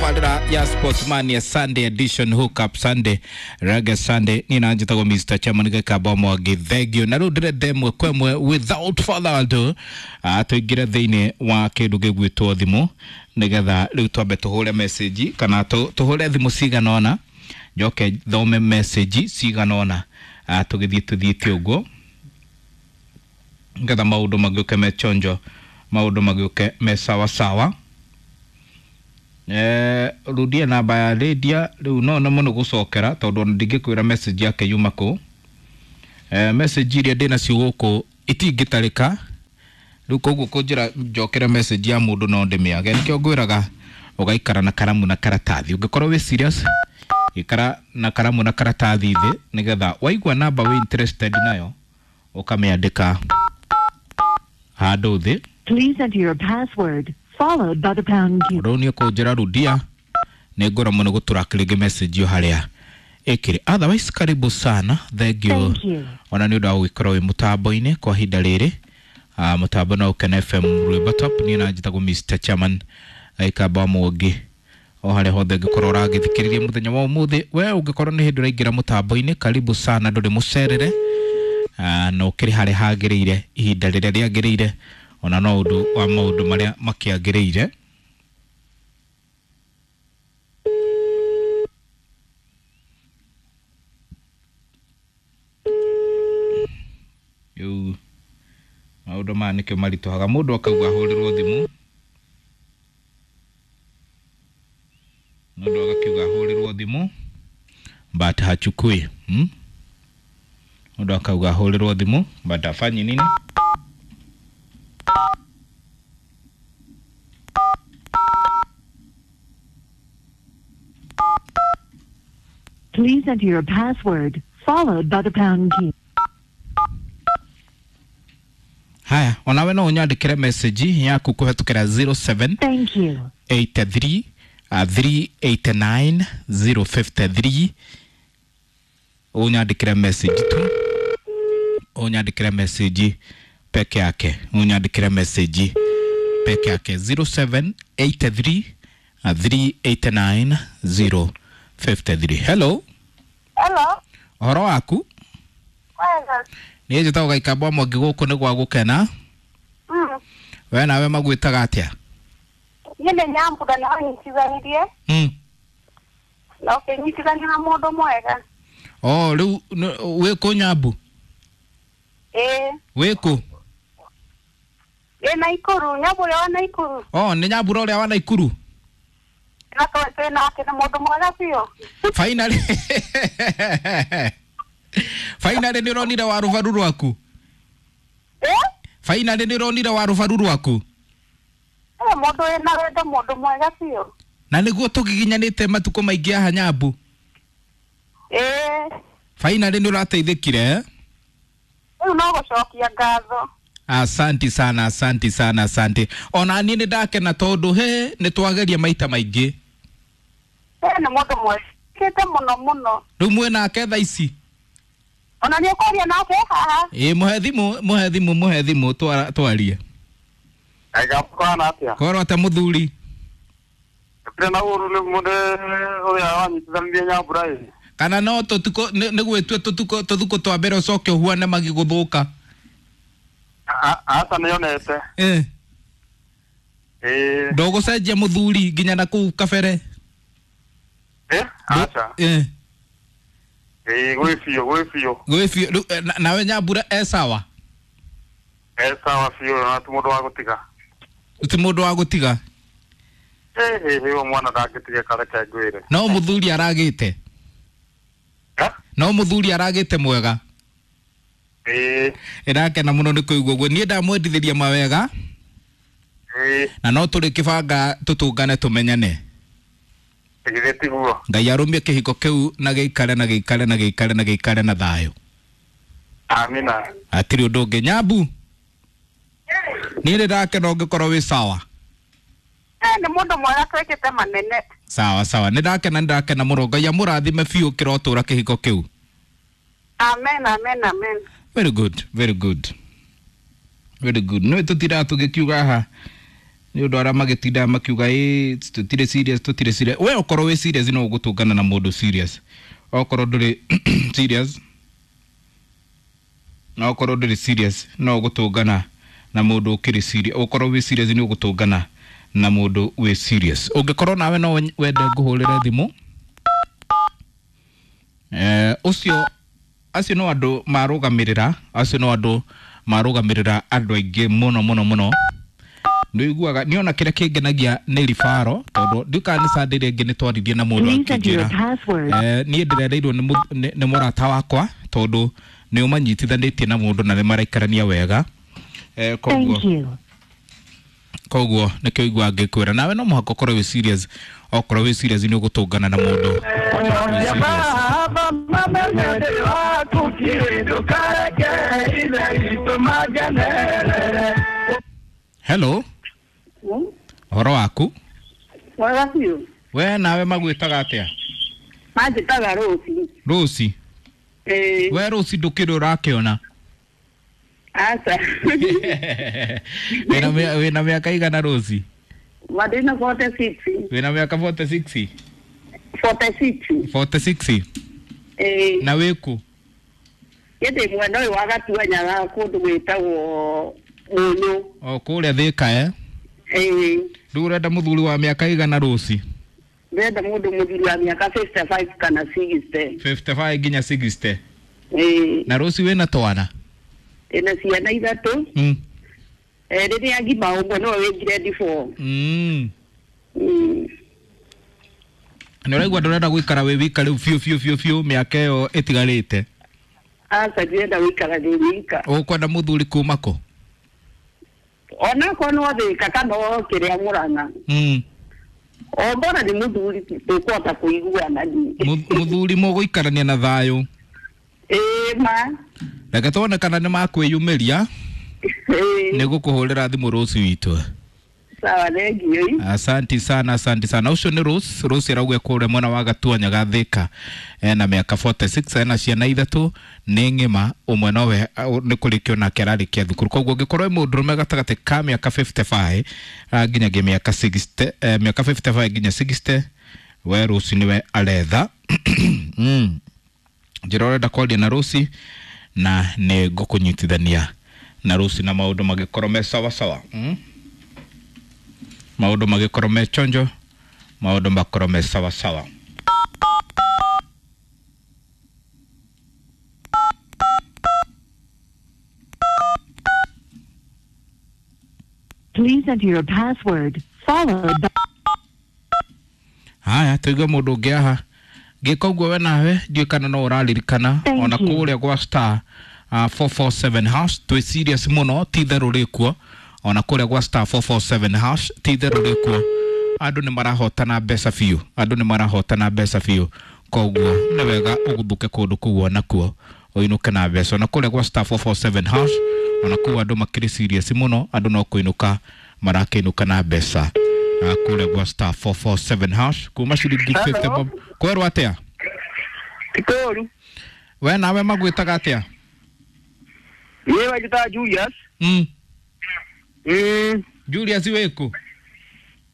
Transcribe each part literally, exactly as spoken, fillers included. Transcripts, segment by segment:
Tabarira ya Sportsman ya Sunday edition, Hook Up Sunday, Reggae Sunday. Nina njitagwo Mister Chairman Gikamba Mwangi, thengio. Na rĩu ndĩrenda ĩmwe kwa ĩmwe without further ado, ah, tũingĩre thĩinĩ wa kĩndũ gĩgwĩtwo thimũ nĩgetha rĩu twambe tũhũre message kana tũ- tũhũre thimũ cigana ũna, njoke thome message cigana ũna, ah, tũgĩthiĩ tũthiĩte ũguo nĩgetha maũndũ magĩũke me chonjo, maũndũ magĩũke me sawa sawa. Eh, rudia namba ya Lydia rĩu no no mũno gũcokera tondũ ona ndingĩkwĩra message yake yuma kũ. Eh, message iria ndĩnacio gũkũ itingĩtarĩka rĩu, koguo kũnjĩra njokere message ya mũndũ no ndĩmĩage. Nĩkĩo ngwĩraga ũgaikara na karamu na karatathi. Ũngĩkorwo wĩ serious, ikara na karamu na karatathi thĩ nĩgetha waigua namba wĩ interested nayo ũkamĩandĩka handũ thĩ. Please enter your password, followed by the pound key. Rĩu nĩ ũkũnjĩra rudia, nĩ ngũra mũno gũtũrack rĩngĩ message ĩyo harĩa ĩkĩrĩ. Otherwise, karibu sana, thank you. Thank you. Ona nĩ ũndũ wa gũgĩkorwo wĩ mũtambo-inĩ kwa ihinda rĩrĩ. Ah, mũtambo no Ũkene F M Rwĩmbo Top. Niĩ na njĩtagwo Mister Chairman Gĩkamba Mwangi. O harĩa hothe ũngĩkorwo ũragĩthikĩrĩria mũthenya wa ũmũthĩ, we ũngĩkorwo nĩ hĩndĩ ũraingĩra mũtambo-inĩ, karibu sana, ndũrĩ mũcerere. Ah, na ũkĩrĩ harĩa hagĩrĩire ihinda rĩrĩa rĩagĩrĩire, ona no ũndũ wa maũndũ marĩa makĩagĩrĩire. Rĩu maũndũ maya nĩkĩo maritũhaga mũndũ akauga ahũrĩrwo thimũ, mũndũ agakiuga ahũrĩrwo thimũ but hachukui, hmm? Mũndũ akauga ahũrĩrwo thimũ but hafanyi nini? Please enter your password, followed by the pound key. Haya, onawe no ũnyandĩkĩre message yaku kũhetũkĩra zero seven Thank you. eight three, uh, three eight nine zero five three. Ũnyandĩkĩre message tu, ũnyandĩkĩre message peke yake, ũnyandĩkĩre message peke yake zero seven eight three, uh, three eight nine zero five three. Hello. Hello. Ũhoro waku? Wega. Niĩ njĩtagwo Gĩkamba Mwangi, gũkũ nĩ gwa gũkena. Mm. We nawe magwĩtaga atĩa? Niĩ nĩ Nyambura na ũnyitithanirie. Mm. Na ũkĩnyitithania na mũndũ mwega. Oh, rĩu nĩ- wĩ kũ Nyambu? Ĩĩ. Wĩ kũ? Ĩ Naikuru, Nyambu ũrĩa wa Naikuru. Oh, nĩ Nyambura ũrĩa wa Naikuru? Na tũ- twĩ nake nĩ mũndũ mwega biũ. Finally. Finally nĩ ũronire wa rũbaru rwaku? Ĩ? Finally nĩ ũronire wa rũbaru rwaku? Ĩ, mũndũ wĩna wendo, mũndũ mwega biũ. Na nĩguo tũgiginyanĩte matukũ maingĩ haha Nyambu. Ĩ. Finally nĩ ũrateithĩkire, eh? Rĩu no gũcokia ngatho. Asanti sana, asanti sana, asanti. Ona niĩ nĩ ndakena tondũ he nĩ twageria maita maingĩ. Ĩ, nĩ mũndũ mwega mũno mũno. Rĩu mwĩ nake thaa ici? Ona nĩ ũkwaria nake haha? Ĩ, mũhe thimũ, mũhe thimũ, mũhe thimũ twara-, twarie. Gakwana atĩa? Korwo ate mũthuri? Ndĩrĩ na ũru nĩ mũndũ ũrĩa wanyitithanirie Nyambura ĩ. Kana no tũtukũ nĩ gwĩtue tũtukũ tũthukũ twa mbere ũcoke ũhuane magigũthũka. A- Aca nĩonete. Eh. Ĩĩ. Ndũgũcenjia mũthuri nginya na kũu kabere? Ĩ, aca. Eh. Ĩĩ, gwĩ biũ, gwĩ biũ. Gwĩ biũ. Rĩu, eh, na- nawe Nyambura e sawa? E sawa biũ, na ti mũndũ wa gũtiga. Ti mũndũ wa gũtiga? Ĩ, ĩ, ĩ, mwana ndangĩtigĩka, reke ngwĩre. No mũthuri aragĩte? Eh? No mũthuri aragĩte mwega? Ĩĩ. Ĩrakena mũno nĩ kũigua ũguo. Niĩ ndamwendithĩria mawega. Ĩĩ. Na no tũrĩkĩbanga tũtũngane tũmenyane. Githĩ tiguo? Ngai arũmie kĩhiko kĩu na gĩikare na gĩikare na gĩikare na gĩikare na thayũ. Amina. Hatirĩ ũndũ ũngĩ. Nyambu, niĩ nĩ ndakena ũngĩkorwo wĩ sawa. Ĩ, nĩ mũndũ mwega twĩkĩte manene. Sawa sawa, nĩ ndakena, nĩ ndakena mũno. Ngai amũrathime biũ kĩrotũra kĩhiko kĩu. Amen, amen, amen. Very good, very good, very good. Nĩ tũtiraga tũgĩkiuga haha Nĩ ũndũ arĩa magĩtindaga makiuga ĩ tũtirĩ serious, tũtirĩ serious. We okorwo wĩ serious no ũgũtũngana na mũndũ serious, okorwo ndũrĩ serious, na okorwo ndũrĩ serious no ũgũtũngana na mũndũ ũkĩrĩ serious. Okorwo wĩ serious nĩ ũgũtũngana na mũndũ wĩ serious. Ũngĩkorwo nawe no wende ngũhũrĩre thimũ, eh, ũcio acio no andũ marũgamĩrĩra, acio no andũ marũgamĩrĩra andũ aingĩ mũno mũno mũno. Nĩũiguaga nĩona kĩrĩa kĩngenagia nĩ ribaro, tondũ ndiũkaga nĩ Sunday rĩngĩ nĩ twaririe na mũndũ Please enter your akĩnjĩra password. eh, niĩ ndĩrereirwo nĩ mũ- nĩ nĩ mũrata wakwa, tondũ nĩ ũmanyitithanĩtie na mũndũ na nĩ maraikarania wega. Eh, koguo Thank you. koguo nĩkĩo iguaga ngĩkwĩra nawe no mũhaka ũkorwo wĩ serious. Okorwo wĩ serious nĩ ũgũtũngana na mũndũ wĩ serious. Hello, ũhoro waku? Mwega biũ. We nawe magwĩtaga atĩa? Manjĩtaga Rũci. Rũci? Ĩĩ. We Rũci ndũkĩrĩ ũrakĩona? Aca. Wĩna mĩa- wĩna mĩaka igana Rũci? Ndĩna forty six. Wĩna mĩaka forty six? Forty six. Forty six? Ĩĩ. Na wĩkũ? Niĩ ndĩ mwena ũyũ wa Gatuanyaga kũndũ gwĩtagwo Mũnyũ. O kũrĩa Thĩka eh? Ĩĩ. Rĩu ũrenda mũthuri wa mĩaka igana Rũci? Ndĩrenda mũndũ mũthuri wa mĩaka fifty five kana sixty. Fifty five nginya sixty. Ĩĩ. Na Rũci wĩna twana? Ndĩna ciana ithatũ. Mm. Eh, rĩrĩa ngima ũmwe nĩwe wĩ grade four. Mm. Mm. Nĩ ũraigua ndũrenda gũikara wĩ wika rĩu biũ biũ biũ biũ mĩaka ĩyo ĩtigarĩte? Aca, ndirenda gũikara ndĩ wika. Ũkwenda mũthuri kuma kũ? Onakorwo no Thĩka kana o kĩrĩa Mũrang'a. Mm. O mbona nĩ mũthuri tũkũhota kũiguana niĩ. Mu- Mũthuri mũgũikarania na thayũ. Ĩĩ ma. Reke tuone kana nĩ makwĩyumĩria. Ĩĩ. Nĩ ngũkũhũrĩra thimũ rũciũ witũ. Sawa, thengiũ. Asanti sana, asanti sana. Ũcio nĩ Rose. Rose arauga kũrĩa mwena wa Gatuanyaga Thĩka, ena mĩaka forty six, ena ciana ithatũ, nĩ ng'ima, ũmwe nowe au, nĩ kũrĩkio nake ararĩkia thukuru. Koguo ũngĩkorwo wĩ mũndũrũme gatagatĩ ka mĩaka fifty five nginyagia mĩaka sixty, eh, mĩaka fifty five nginya sixty, we Rose nĩwe aretha. Mm. Njĩra ũrenda kwaria na Rose na nĩ ngũkũnyitithania na Rose na maũndũ magĩkorwo me sawa sawa. Mm? Maũndũ magĩkorwo me chonjo, maũndũ makorwo me sawa sawa. Please enter your password followed by Haya, tũigue mũndũ ũngĩ haha. Ngĩka ũguo we nawe ndiũĩ kana no ũraririkana Thank ona you. kũrĩa gwa star uh, four four seven hash twĩ serious mũno, ti itherũ rĩkuo. Ona kũrĩa gwa star four four seven hash ti itherũ rĩkuo. Andũ nĩ marahotana mbeca biũ, andũ nĩ marahotana mbeca biũ. Koguo nĩ wega ũguthũke kũndũ kũu onakuo ũinũke na mbeca. Ona kũrĩa gwa star four four seven hash ona kũu andũ makĩrĩ serious mũno, andũ no kũinũka marakĩinũka na mbeca. Ah, kũrĩa gwa star four four seven hash kuma ciringi fifty bob. Kwerwo atĩa? Ti kũũru. We nawe magwĩtaga atĩa? Niĩ wanjĩtaga Julius. Mm. Mm. Julius wĩkũ?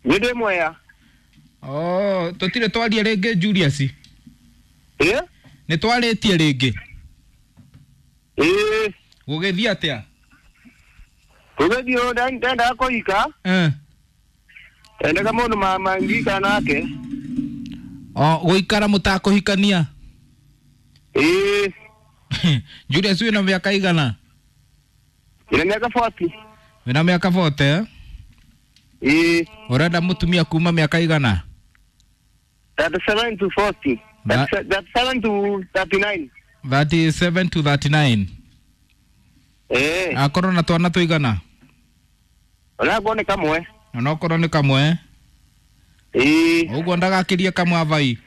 Niĩ ndĩ Mwea. Oh, tũtirĩ twaria rĩngĩ Julius. Ĩ? Nĩ twarĩtie rĩngĩ. Ĩ. Gũgĩthiĩ atĩa? Gũgĩthiĩ ũũ, nda- ndendaga kũhika. Eh. Ndendaga mũndũ ma- mangĩikara nake. O gũikara mũtakũhikania? Ĩ. Julius wĩna mĩaka igana? Ndĩna mĩaka forty. Wĩna mĩaka forty, eh? Ĩ. Ũrenda mũtumia kuma mĩaka igana? Thirty seven to forty. That- Thirty seven to thirty nine. Thirty seven to thirty nine. Ĩ. Akorwo na twana tũigana? Onakorwo nĩ kamwe. Onokorwo nĩ kamwe? Ĩ. Ũguo ndagakĩrie kamwe avai?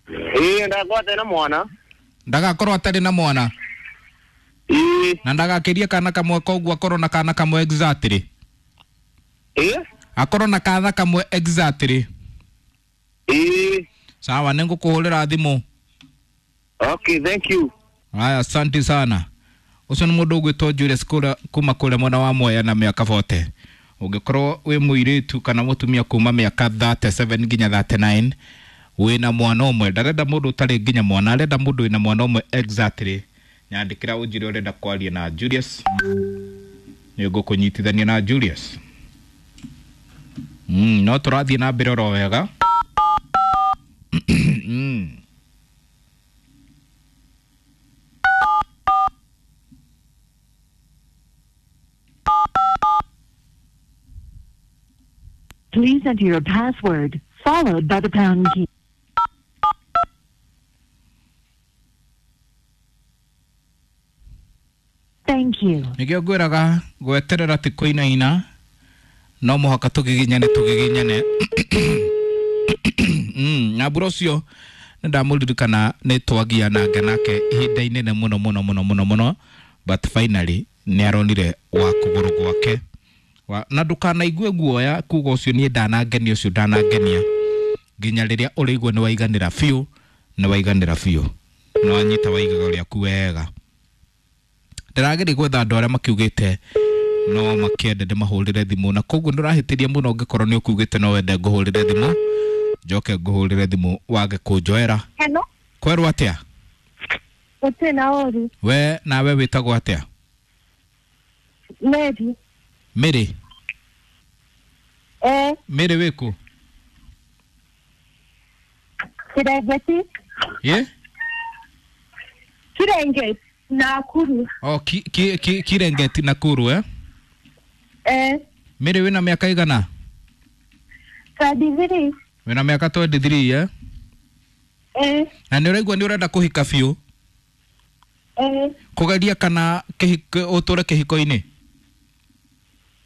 Ĩ, ndagakorwo atarĩ na mwana. Ndagakorwo atarĩ na mwana? Ĩ. Na ndagakĩrie kana kamwe, koguo akorwo na kana kamwe exactly. Ĩ? Akorwo na kana kamwe exactly. Ĩ. Sawa, nĩngũkũhũrĩra thimũ. Okay, thank you. Haya, asante sana. Ũcio nĩ mũndũ ũgwĩtwo Julius kũrĩa kuma kũrĩa mwena wa Mwea na mĩaka forty. Ũngĩkorwo wĩ mũirĩtu kana mũtumia kuma mĩaka thirty-seven nginya thirty-nine, wĩna mwana ũmwe, ndarenda mũndũ ũtarĩ nginya mwana, arenda mũndũ wĩna mwana ũmwe exactly. Nyandĩkĩra ũnjĩre ũrenda kwaria na Julius, nĩ ngũkũnyitithania na Julius. Mm, no tũrathiĩ na mbere oro wega. Mm. Please enter your password, followed by the pound key. Thank you. Nĩkĩo ngwĩraga gweterera ti kũinaina, no mũhaka tũgiginyane tũgiginyane. Mm, na mbura ũcio nĩ ndamũririkana nĩ twagiananga nake ihinda inene mũno mũno mũno mũno mũno, but finally nĩ aronire wa kũgũrũ gwake. Wa, na ndũkanaigue guoya kuga ũcio niĩ ndanangenia ũcio ndanangenia, nginya rĩrĩa ũrĩigua nĩ waiganĩra biũ, nĩ waiganĩra biũ, nĩ wanyita waigaga rĩaku wega. Ndĩrageria gwetha andũ arĩa makiugĩte no makĩende ndĩmahũrĩre thimũ, na koguo ndũrahĩtĩria mũno ũngĩkorwo nĩ ũkiugĩte no wende ngũhũrĩre thimũ, njoke ngũhũrĩre thimũ wage kũnjoera. Hello. Kwerwo atĩa? Gũtirĩ na ũru. We nawe wĩtagwo atĩa? Mary. Mary? Eh. Mary wĩkũ? Kirengeti. Ye? Kirengeti Nakuru. Oh, ki, ki, ki, Kirengeti Nakuru eh? Eh. Mary wĩna mĩaka igana? twenty-three. Wĩna mĩaka twenty-three eh? Eh. Na nĩ ũraigua nĩ ũrenda kũhika biũ? Eh. Kũgeria kana kĩhiko ũtũre kĩhiko-inĩ?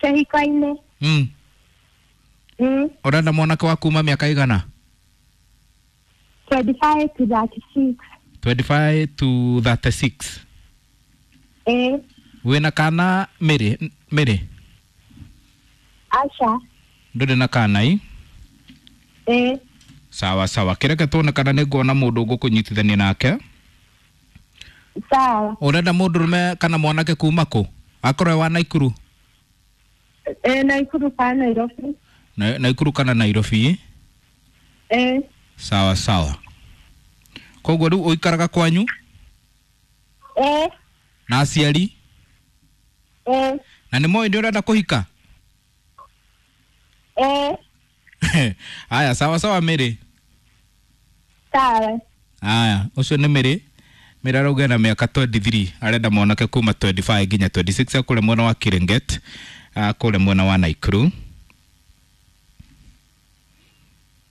Kĩhiko-inĩ. Mm. Mm. Ũrenda mwanake wa kuma mĩaka igana? twenty-five to thirty-six. twenty-five to thirty-six. Eh. Wĩna kana Mary? Mary? Aca. Ndũrĩ na kana i? Eh. Sawa sawa, kĩreke tuone kana nĩ nguona mũndũ ngũkũnyitithania nake. Sawa. Ũrenda mũndũrũme kana mwanake kuma kũ? Akorwo e wa Naikuru? Eh, Naikuru kana Nairobi. Na, Naikuru kana Nairobi? Eh. Sawa sawa. Koguo rĩu ũikaraga kwanyu? Eh. Na aciari? Eh. Na nĩ moĩ nĩ ũrenda kũhika? Eh. Aya, sawa sawa Mary. Sawa. Aya, ũcio nĩ Mary. Mary arauga na mĩaka twenty-three, arenda mwanake kuma twenty-five nginya twenty-six, akũrĩa mwena wa Kirenget, akũrĩa mwena wa Naikuru.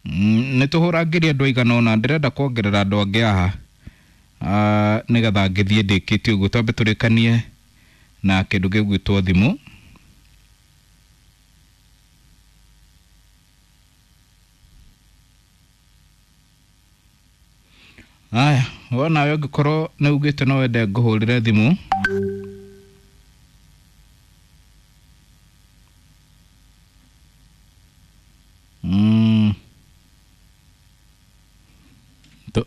Mm, nĩ tũhũrangĩrie andũ aigana ũna, ndĩrenda kuongerera andũ angĩ haha, uh, nĩgetha ngĩthiĩ ndĩkĩtie ũguo, twambe tũrĩkanie na kĩndũ gĩgwĩtwo thimũ. Aya, wona we ũngĩkorwo nĩ ugĩte no wende ngũhũrĩre thimũ. Mm.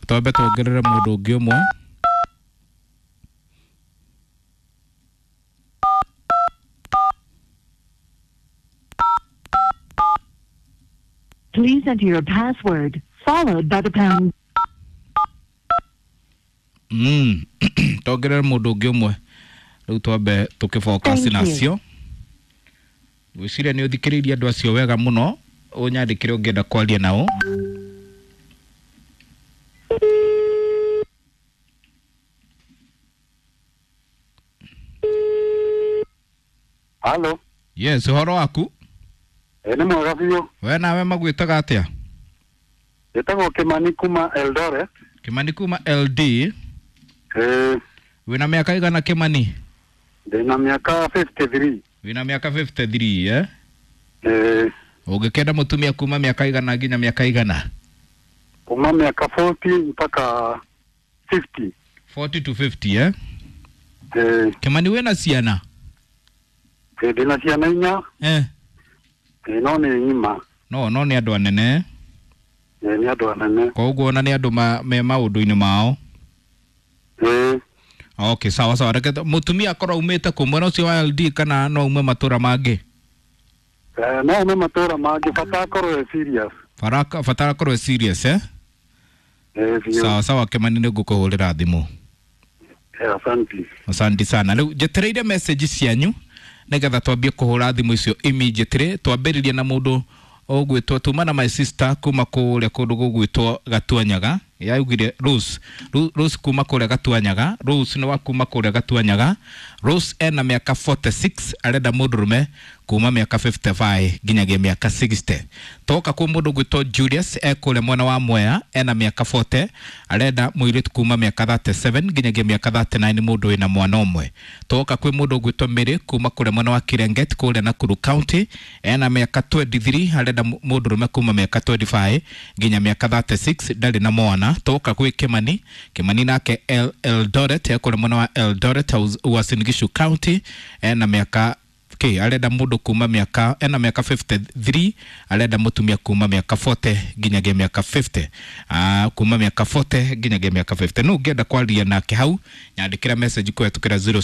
Twambe tuongerere mũndũ ũngĩ ũmwe. Please enter your password, followed by the pound. Mm. Tuongerere mũndũ ũngĩ ũmwe. Rĩu twambe tũkĩfocus nacio. Ngwĩciria nĩ ũthikĩrĩirie andũ acio wega mũno, ũnyandĩkĩre ũngĩenda kwaria nao. Halo. Yes, ũhoro waku? Eh, nĩ mwega biũ. We nawe magwĩtaga atĩa? Njĩtagwo Kimani kuma Eldoret. Kimani kuma L D. Eh. Wĩna mĩaka igana Kimani? Ndĩna mĩaka fifty-three. Wĩna mĩaka fifty-three, eh? Eh. Ũngĩkenda mũtumia kuma mĩaka igana nginya mĩaka igana? Kuma mĩaka forty mpaka fifty. forty to fifty, eh? Eh. Kimani wĩna ciana? Eh, ndĩna ciana inya. Eh. Eh, no nĩ ng'ima. No, no nĩ andũ anene. Eh, nĩ andũ anene. Koguo ona nĩ andũ ma, me maũndũ-inĩ mao. Eh. Okay, sawa sawa. Reke mũtumia akorwo aumĩte kũ, mwena ũcio wa L D kana no aume matũra mangĩ? Eh, no ume matũra mangĩ bata akorwo e serious. Baraka batara korwo serious eh? Eh, biũ. Sawa sawa Kimani, nĩ ngũkũhũrĩra thimũ. Eh, asante. Asante sana. Rĩu njetereire message cianyu nĩgetha twambie kũhũra thimũ icio immediately. Twambĩrĩrie na mũndũ ũgwĩtwo tuma na my sister kuma kũrĩa kũndũ gũgwĩtwo Gatuanyaga. Yaugire Rose. Ru- Rose kuma kũrĩa Gatuanyaga. Rose nĩ wa kuma kũrĩa Gatuanyaga. Rose ena mĩaka mĩrongo ĩna na ĩnana, arenda mũndũrũme kuma mĩaka mĩrongo ĩtano na ĩtano nginyagia mĩaka mĩrongo ĩnana. Toka kwĩ mũndũ ũgwĩtwo Julius e kũrĩa mwena wa Mwea, ena mĩaka mĩrongo ĩna, arenda mũirĩtu kuma mĩaka mĩrongo ĩtatũ na mũgwanja nginyagia mĩaka mĩrongo ĩtatũ na kenda, mũndũ wĩna mwana ũmwe. Toka kwĩ mũndũ ũgwĩtwo Mary kuma kũrĩa mwena wa Kirenget kũrĩa Nakuru County, ena mĩaka mĩrongo ĩĩrĩ na ithatũ, arenda mũ- mũndũrũme kuma mĩaka mĩrongo ĩĩrĩ na ĩtano nginya mĩaka mĩrongo ĩtatũ na ithatũ, ndarĩ na mwana. Toka kwĩ Kimani. Kimani nake El Eldoret, e kũrĩa mwena wa Eldoret, Uasin Gishu County, ena mĩaka k arenda mũndũ kuma mĩaka, ena mĩaka mĩrongo ĩtano na ithatũ, arenda mũtumia kuma mĩaka mĩrongo ĩna nginyagia mĩaka mĩrongo ĩtano, ah, kuma mĩaka mĩrongo ĩna nginyagia mĩaka mĩrongo ĩtano. No ũngĩenda kwaria nake hau, nyandĩkĩra message kũhetũkĩra zero.